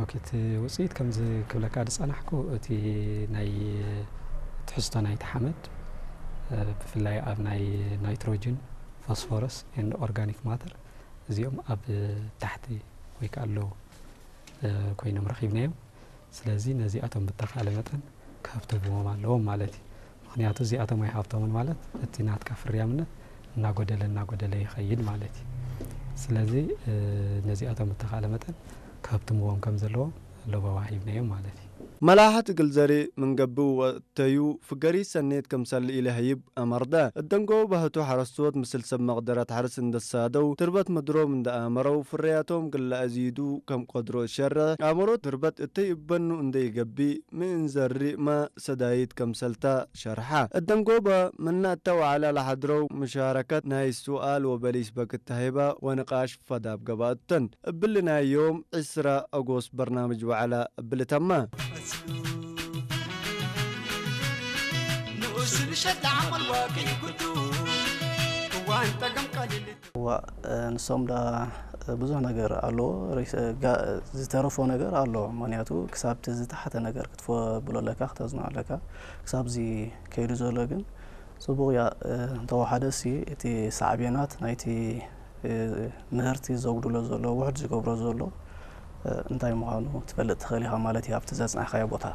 ኦኬ፣ እቲ ውፅኢት ከምዚ ክብለካ ዝፀናሕኩ፣ እቲ ናይ ትሕዝቶ ናይቲ ሓመድ፣ እ፣ ብፍላይ ኣብ ናይ ናይትሮጅን፣ ፎስፎረስ ኤንድ ኦርጋኒክ ማተር፣ እዚኦም ኣብ ታሕቲ ወይ ከዓ ኣለዉ፣ እ፣ ኮይኖም ረኺብናዮም። ስለዚ ነዚኣቶም ብተኻለ መጠን ከህብትምዎም ኣለዎም ማለት እዩ። ምኽንያቱ እዚኣቶም ኣይሃብቶምን ማለት እቲ ናትካ ፍርያምነት እናጎደለ እናጎደለ ይኸይድ ማለት እዩ። ስለዚ፣ እ፣ ነዚኣቶም ብተኻለ መጠን ከህብትምዎም ከም ዘለዎም ለበዋ ሂብናዮም ማለት እዩ። መላሓት እግል ዘርኢ ምንገብእ ወቅተዩ ፍገሪ ሰኔት ከምሰል ኢለ ህይብ ኣመርደ። እደንጎ ባህቱ ሓረስቶት ምስል ሰብ መቅደረት ሓርስ እንደሳደው ትርበት ምድሮም እንደኣመረው ፍርያቶም ግላ ኣዚዱ ከም ቆድሮ ሸረ ኣመሮት ትርበት እተይ እበኑ እንደይገቢ ምእንዘሪ መ ሰዳይት ከምሰልታ ሸርሓ። እደንጎ በ መናእታ ወዓላ ለሓድረው ምሻረከት ናይ ሱኣል ወበሊስ በክት ተሂባ ወንቃሽ ፈዳብ ገባእተን። እብልናዮም ዕስራ ኣጎስት በርናምጅ ዋዕላ እብል ተማ። ንኡስ ንሸት ዓመል ዋቂ ጉዱ እዋን ጠገም ቀሊል። እዋ፣ እ፣ ንሶም ዳ፣ እ፣ ብዙሕ ነገር ኣለዎ። ሪስ-፣ እ፣ ጋ-፣ ዝተረፎ ነገር ኣሎ። ምኽንያቱ ክሳብ እቲ ዝተሓተ ነገር ክትፈ ብሎ ኣለካ፣ ክተዝኖ ኣለካ። ክሳብ እዚ ከይዱ ዘሎ ግን ጽቡቕ እያ። እ፣ እንተወሓደ ሲ እቲ ሳዕቤናት ናይቲ፣ እ፣ ምህርቲ ዘጉድሎ ዘሎ፣ ውሕድ ዝገብሮ ዘሎ፣ እ፣ እንታይ ምዃኑ ትፈልጥ ትኽእል ኢኻ ማለት እዩ፣ ኣብቲ ዘጽናሕካዮ ቦታ።